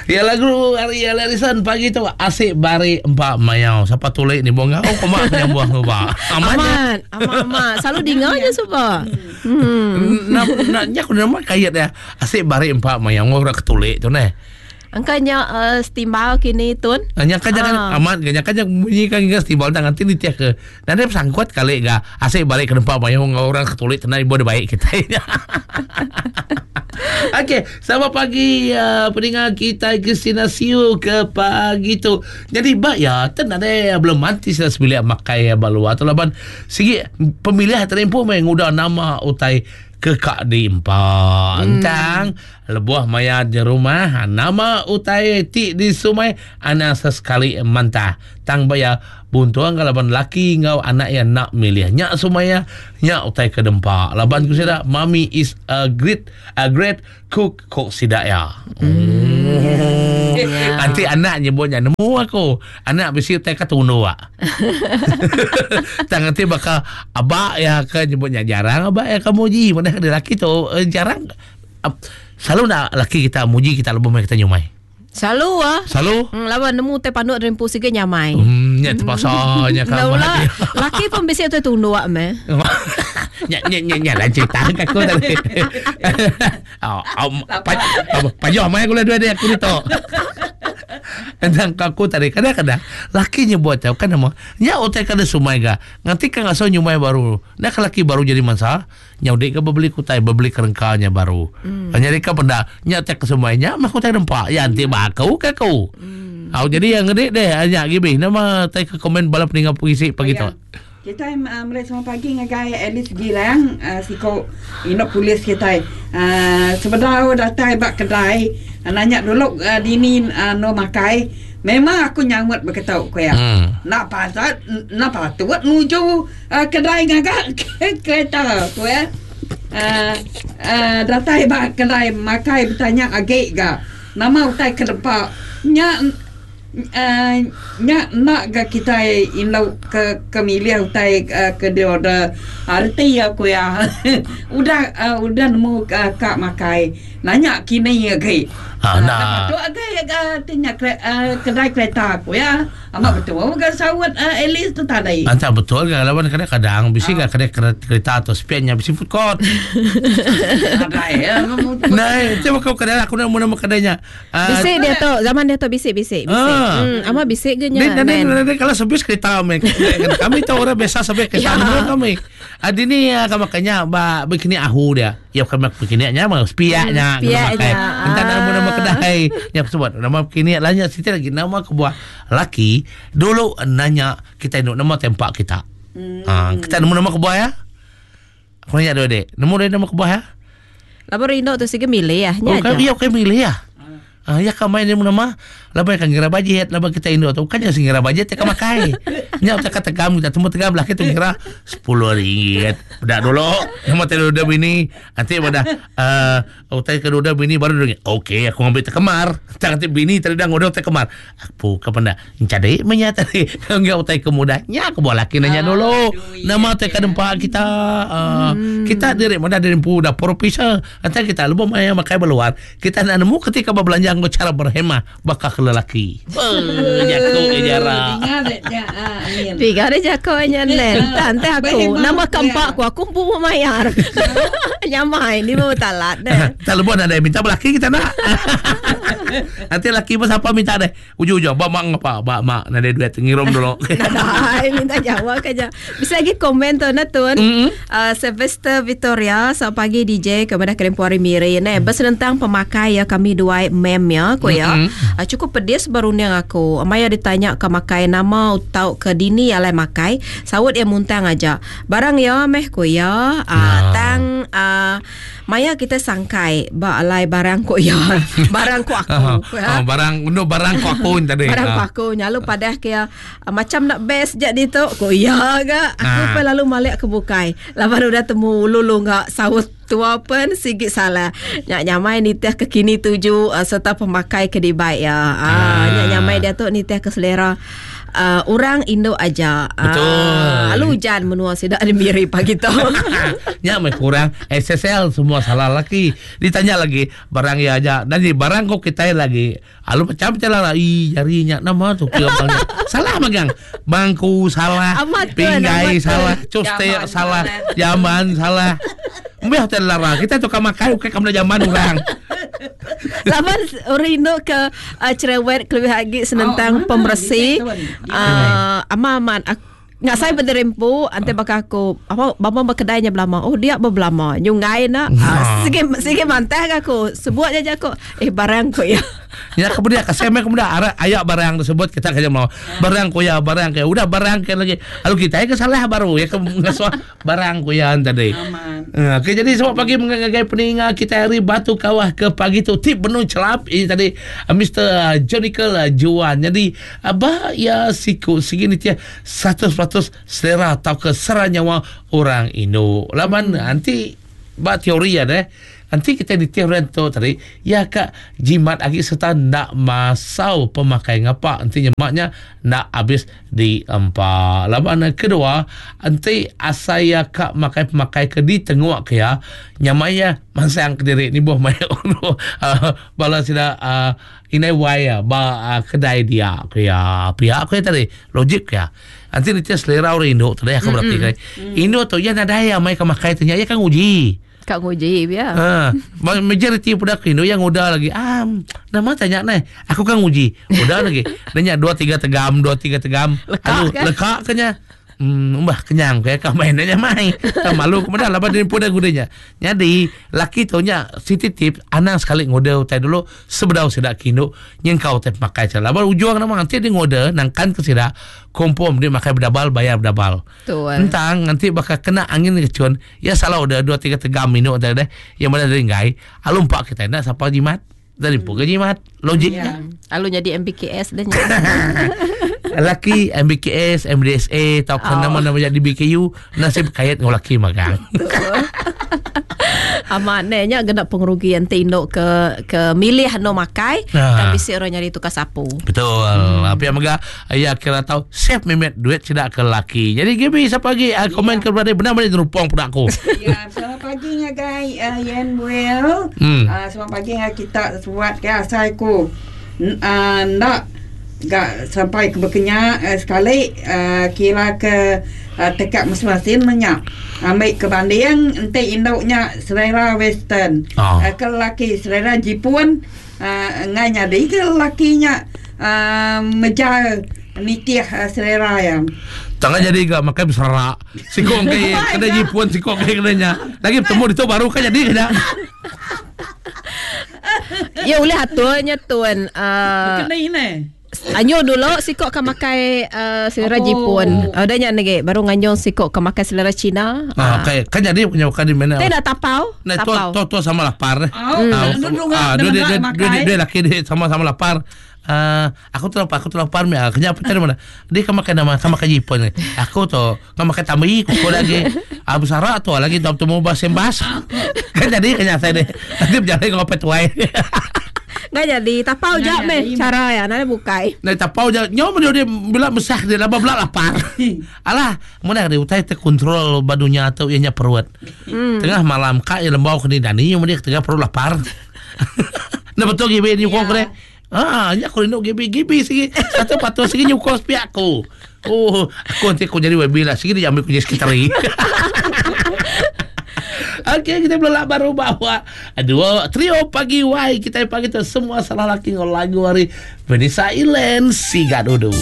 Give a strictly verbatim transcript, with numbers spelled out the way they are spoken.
Ya lagu hari Larison pagi tu asik bari empat mayau. Siapa tulik ni buang oh komak penyambuang ubah. Amat. Amat, amat, amat. Selalu dengar je sebab. Hmm. Nak nak nyak nama kayat dia. Asik bari empat mayau orang ketulik tu neh. Angkanya uh, setimbal kini tun. Hanya kan jangan ah. Amat kan kan bunyi kan hingga setimbal tangan nanti ditiak ke. Nanti sangkut kali ga asik balik ke tempat mayau orang ketulik tenang ibu baik kita. Okey, selamat pagi uh, pendengar kita Christina Siu ke pagi tu. Jadi bak ya, ten ada belum mati sudah sebilik makai balua atau laban sigi pemilihan terempu main ngudah nama utai kekak di empat. Hmm. Entang lebuah maya di rumah nama utai ti di sumai anak sesekali mantah. Tang baya buntuang kalau ban laki ngau anak yang nak milih nyak sumaya nyak utai ke dempak. Laban ku sida mami is a great a great cook kok sida ya. Hmm. Yeah. Nanti anak nyebutnya nemu aku. Anak bisi utai ka tunu ah. Tang nanti bakal abak ya ke nyebutnya jarang abak ya kamu ji mana ada laki tu eh, jarang selalu nak laki kita muji kita lebih kita nyumai. Selalu ah. Selalu. Hmm, lawan nemu teh panduk rempu sige nyamai. Hmm, nya terpaksa nya kamu. Laki pun bisi tu tunduk meh. Nya nya nya nya lah cerita aku tadi. Oh, pajoh mai aku lah dua dia aku ni tu. Tentang aku tadi kadang-kadang laki nyebut tau kan nama nya utai kada sumai ga. Nganti kan ngaso nyumai baru. Nak laki baru jadi mangsa, nya udik ke beli kutai, beli kerengkanya baru. Hmm. Jadi ka penda nya utai ke sumai nya mah kutai rempak. Ya anti bakau ke aku. Hmm. Au jadi yang gede deh nya gibi nama tai ke komen bala peninggal puisi pagi tu. Kita uh, mulai selamat pagi ngagai Alice Gilang uh, siko inok polis kita. Uh, sebenarnya datai bak kedai uh, nanya dulu uh, dini uh, no makai. Memang aku nyamut berketau ku ya. Hmm. Nak pasal nak patut nuju uh, kedai ngagak kereta ku ya. Uh, uh, datai bak kedai makai bertanya agak ga. Nama utai ke depak nya Uh, nya nak ga kita inlau ke ke milih utai uh, ke dia order arti aku ya. Udah uh, udah nemu uh, kak makai nanya kini ya ke ah nah tu agak uh, tanya uh, kedai kereta aku ya. Amat betul ga sawat uh, Alice tu tadi. Antara betul ga lawan kadang-kadang bisi ga kedai kereta atau spiannya bisi food court. Ada ya. Nah, coba kau kedai aku nak nama kedainya. Bisi dia tu zaman dia tu bisi bisi bisi. Hmm, ama bisik ge nya. Dan kalau sebis kereta kami. Kami tahu orang biasa sebis kereta ya. Kami. Adi ni kami makanya ba begini ahu dia. Ya kami begini nya mah spiaknya. Spiaknya. Entah nama nama kedai. Ya sebut nama begini lahnya siti lagi nama kebuah laki dulu nanya kita induk nama tempat kita. Hmm. Ha, kita nemu nama kebuah ya. Aku nanya dulu dek. Nemu dia nama kebuah ya? Labar induk tu sige milih ya. Nya. Oh, iya kami milih ya. Ah ya kamai ni nama labai kan ngira bajet labai kita indo tu kan yang ngira bajet tak makai. Nya tak kata tegam kita temu tegam lah kita ngira sepuluh ringgit. Dah dulu nama teh udah bini nanti pada eh utai ke udah bini baru dia okey aku ngambil tekemar. Tak nanti bini tadi dah ngodok tekemar. Aku ke penda encade menya tadi enggak utai ke muda nya aku bawa laki nanya dulu. Nama teh ke dempak kita uh, hmm. Kita diri mana dari empu dah profesor nanti kita lupa main makai beluar. Kita nak nemu ketika berbelanja cara berhemah bakal ke lelaki. Eh, jago ke jarak. Tiga ada jago nya nen. Tante aku nama kampak aku aku pun mayar. Nyamai ni mau talat deh. Tak lebih ada minta lelaki kita nak. Nanti lelaki pun siapa minta deh. Ujung-ujung bak mak ngapa? Bak mak nak ada duit ngirum dulu. Nah, minta jawab aja. Bisa lagi komen tu na tuan. Mm-hmm. Uh, Sylvester Victoria selamat pagi D J kepada Kerempuari Miri ne. Bersenentang pemakai ya kami dua mem ya ko ya. Mm-hmm. Uh, cukup pedis baru ni aku. Maya ditanya ke makai nama atau ke dini alai makai, sawut ya muntang aja. Barang ya meh ko ya. Uh, nah. Tang uh, maya kita sangkai ba alai barang ko ya. Barang ko aku. Uh, ya. Oh, barang no barang ko aku tadi. Barang ko aku nyalu padah ke ya, uh, macam nak best jadi tu ko ya ga. Aku uh. lalu malik ke bukai. Laban udah temu lulu ngak sawut tua pun sikit salah. Nyak nyamai nitih ke kini tuju uh, serta pemakai ke dibaik ya. Ah, nyak nyamai dia tu nitih ke selera uh, orang Indo aja. Betul. Ah, lalu hujan menua sida ada miri pagi tu. Nya meh kurang S S L semua salah laki. Ditanya lagi barang ya aja. Dan di barang kok kita lagi. Alu macam macam lah. Ih jarinya nama tu kira salah magang. Bangku salah. Amat tuan, pinggai amat salah, custe Jamban salah, salah. jamban salah. Mbah teh lara kita tukang makan ukai kamu jamban orang. Laban orang Indo ke uh, cerewet kelebih lagi senentang Oh, pembersih. mana, bisa, Uh, aman-aman aku nggak saya berderempu ante bakal aku apa bapa berkedainya belama. Oh dia berbelama. Nyungai nak. Uh, sige sige mantah aku. Sebut aja aku eh barang ku ya. Ya kemudian kasih mek kemudian arah ayak barang tersebut kita kerja mau barang kuya barang kayak udah barang kayak lagi. Lalu kita ya kesalah baru ya ke ngesoh barang kuya tadi. Aman. Uh, okay, jadi selamat pagi mengagai peninga kita hari Batu Kawah ke pagi tu tip penuh celap ini tadi uh, Mister Jonical uh, Juan. Jadi abah ya siku segini tia seratus peratus selera atau ke sera nyawa orang Indo. Laman hmm. nanti bak teori ya deh. Nanti kita di teori tu tadi ya kak jimat lagi serta nak masau pemakai ngapa nanti nyemaknya nak habis di empat. Laban kedua nanti asaya kak makai pemakai ke di tenguak ke ya nyamaya masang ke diri ni buah maya ono uh, bala sida uh, inai waya ba uh, kedai dia ke ya pihak ke tadi logik ya. Nanti ni selera orang Indo tadi aku berarti kan. Indo tu ya nadai ya mai kemakai tanya ya kan uji. Kak nguji ya. Ha, majoriti budak Indo yang udah lagi. Ah, nama tanya neh. Aku kan nguji. Udah lagi. Nanya dua tiga tegam, dua tiga tegam. Lekak Aduh, kan? lekak kenya. Hmm, mbah kenyang kayak kau mainnya mai. Tak malu kemudian laba dia pun gudenya. Jadi laki tu nya siti tip anang sekali ngode utai dulu sebedau sidak kindu nyengkau tep makai cala. Laba ujung nama nanti dia ngode nangkan ke sidak kompom dia makai berdabal bayar berdabal. Betul. Entang nanti bakal kena angin kecun. Ya salah udah dua tiga tegam minum tadi deh. Yang mana dari ngai. Alum pak kita nak siapa jimat. Dari pun ke jimat logiknya. Ya. Lalu jadi M B K S dah. Laki M B K S, M D S A, atau oh. nama-nama jadi B K U, nasib kayat ngau laki magang. Amat nenya genap pengerugian tinduk ke ke milih no makai, Ah. tapi si orang nyari tukar sapu. Betul. Hmm. Apa yang megah ya kira tahu save memet duit tidak ke laki. Jadi Gibi siapa lagi uh, komen ke berada benar-benar terupong pada aku. Ya, selamat pagi ngagai uh, Yen Well. Hmm. Uh, selamat pagi ngagai kita buat ke asal ku. N- uh, nak gak sampai ke berkenyak uh, sekali uh, kira ke uh, tekak masing-masing menyak. Ambil ke banding ente induknya selera western. Oh. Uh, ke lelaki selera Jepun uh, ngai nyadi ke lelakinya uh, mejar nitih uh, selera yang. Tangan jadi gak makai berserak. Sikong ke kena jipun sikong ke kenanya. Lagi bertemu itu baru kan jadi kena. Ya boleh aturnya tuan. Uh, Kena ini. Anyo dulu sikok ke makai uh, selera Oh. Jepun. Uh, dah nyak nege baru nganjong sikok ke makai selera Cina. Ah, okay. Kan jadi punya bukan di mana. Teh dah tapau? Nah, tu tapau. tu tu sama lapar. Oh, Ah, duduk ah, ah, dua dia dia makai. dia dia laki dia sama-sama lapar. Ah, aku tu lapar, aku tu lapar mi. Ah, Kenyapa cari mana? Dia kan makan nama, kan makan jipun. Aku tu kan makan tambi, kuku lagi. Ah, besara tu lagi tu tu mau basembas. Kan jadi kenyang saya deh. Nanti berjalan ngopet tuai. Nggak jadi tapau Nggak jap meh jadi. cara ya nada bukai. Nah, tapau je. Nyawa dia dia bila besar dia laba belak lapar. Alah, mana dia utai terkontrol badunya atau ianya perut. Hmm. Tengah malam kak ya lembau kena dani yang dia tengah perut lapar. Nah betul gibi ni kau kena. Ah, nya aku rindu gibi gibi sigi. Satu patu sigi nyukong sepi aku. Oh, aku nanti aku jadi webi lah. Sigi dia ambil kunci sekretari. Okey, kita belum baru bawa dua trio pagi wai kita pagi tu semua salah laki ngol lagu hari Vanessa Ilen Sigadudu.